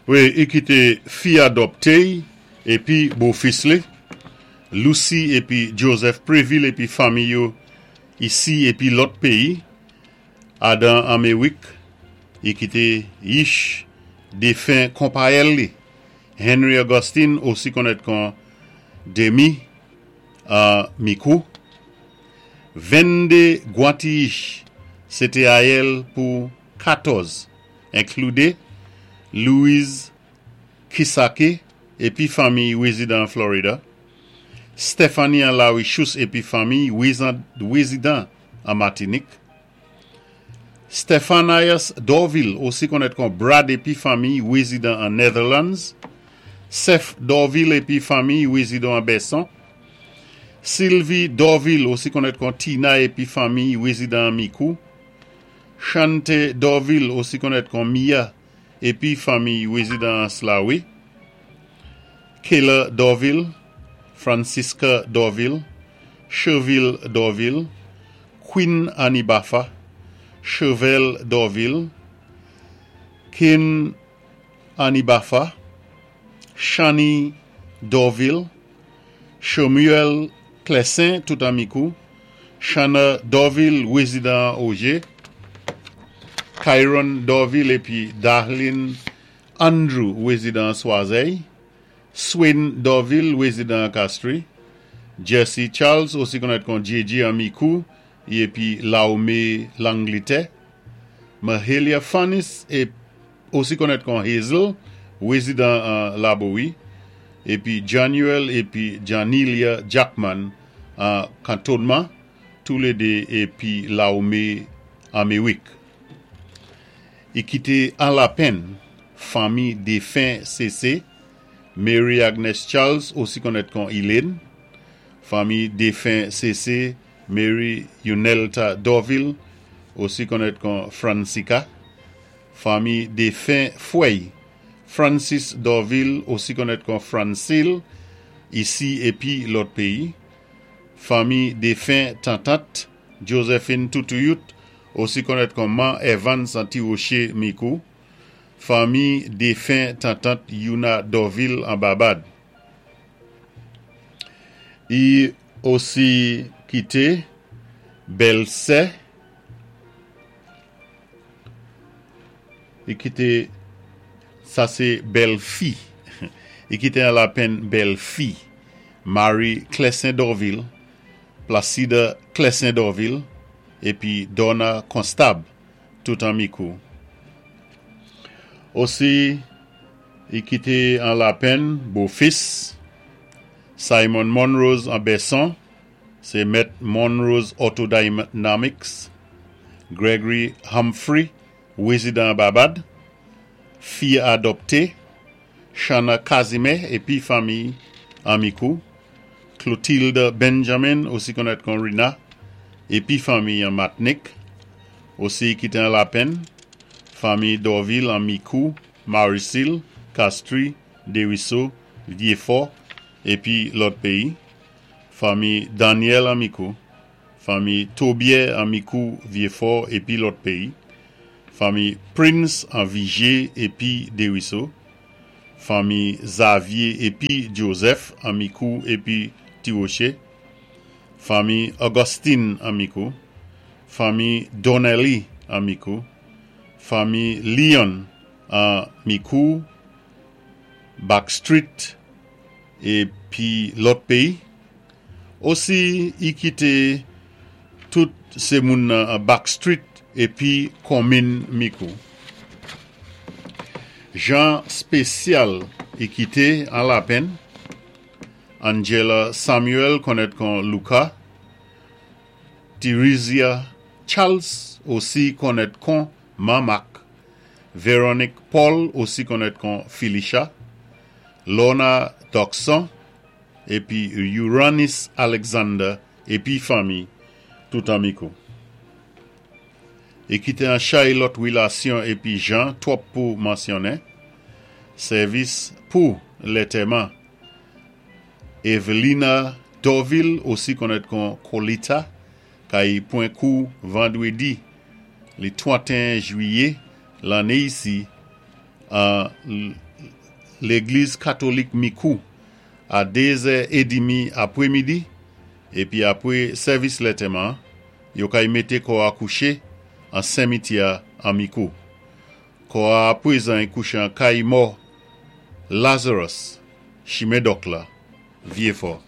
Wi, i kité fi adòpté-y épi bofis li, Lucy épi Joseph Prévil épi fanmi yo isi épi lòt péyi, Adan Anméwik, i kité yich défen konpayèl li, Henry Augustine osi konnèt kon Demy an Mikou. 22 gwantiyich sé té ayèl pou 14, enklude Louise Kisake épi fanmiy wézidan an Florida, Stephanie an Larichous épi fanmiy wézidan an Matinik, Stephanias Dorvil osi konnèt kon Brad épi fanmiy wézidan an Netherlands, Seth Dorvil épi fanmiy wézidan an Bèson, Sylvie Dorvil osi konnèt kon Tina épi fanmiy wézidan an Mikou, Chante Dorvil osi konnèt kon Mia épi fanmiy wézidan an Slawi, Kayla Dorvil, Francisca Dorvil, Cherville Dorvil, Queen Anibafa, Chevel Dorvil, Kin Anibafa, Shani Dorvil, Chemuel Clessin tout an Mikou, Shana Dorvil wézidan an Ogé, Kyron Dorvil épi Darlene Andrew wézidan an Swazèy, Swain Dorvil wézidan an Castries, Jesse Charles osi konnèt kon JJ an Mikou épi Lawmé Langlitè, Mahalia Fanis osi konnèt kon Hazel wézidan an Labowi, épi Januel épi Janilia Jackman an Kantonman, toulédé épi Lawmé Anméwik. I kité an lapenn fanmi défen CC, Mary Agnes Charles osi konnèt kon Elaine, fanmi défen CC, Mary Unelta Dorvil osi konnèt kon Francica, fanmi défen Fwèy, Francis Dorvil osi konnèt kon Francil isi épi lòt péyi, fanmi défen Tantant, Josephine Toutouyut osi konnèt kon Man Evans an Ti Woché Mikou, fanmi défen Tantant Youna Dorvil an Babad. I osi kité bèlsè I kité sa sé bèlfi I kité an lapenn bèlfi Marie Clessin Dorvil, Placide Clessin Dorvil épi Donna Constab tout an Mikou. Osi I kité an lapenn bofis Simon Monrose an Bèson, sé mèt Monrose Autodynamics, Gregory Humphrey wézidan an Babad, fi adòpté Shana Casimir épi fanmiy an Mikou, Clotilde Benjamin osi konnèt kon Rina épi fanmiy an Matnik, osi kité an lapenn fanmiy Dorvil an Mikou, Marisil, Castries, Dériso, Vyéfò épi lòt péyi, fanmi Daniel an Mikou, fanmi Tobier an Mikou, Vyéfò épi lòt péyi, fanmi Prince an Viger épi Dériso, fanmi Xavier épi Joseph an Mikou épi Ti Woché, fanmi Augustine an Mikou, fanmi Donnelly an Mikou, fanmi Leon an Mikou, Backstreet épi lòt péyi. Osi i kité tout sé moun nan Backstreet épi konminn Mikou. Jan spésyal i kité an lapenn, Angela Samuel konnèt kon Luca, Theresia Charles osi konnèt kon Mamak, Véronique Paul osi konnèt kon Felicia, Lorna Doxon épi Uranis Alexander épi fanmi tout an Mikou. I kité an chay lòt wilasyon épi jan twòp pou mansyonnen, sèvis pou lètèman Evelina Dorvil osi konnèt kon Colita kay pwan kou vandwédi li 31 jwiyé lanné isi. An Légliz Katolik Mikou a 2 è édmi apwémidi, épi apwé sèvis lantèman, yo kay mété kò-a kouché an senmityè an Mikou. Kò-a apwézan kouché an kay mò Lazarus, Chimen Dòk la, Vyéfò.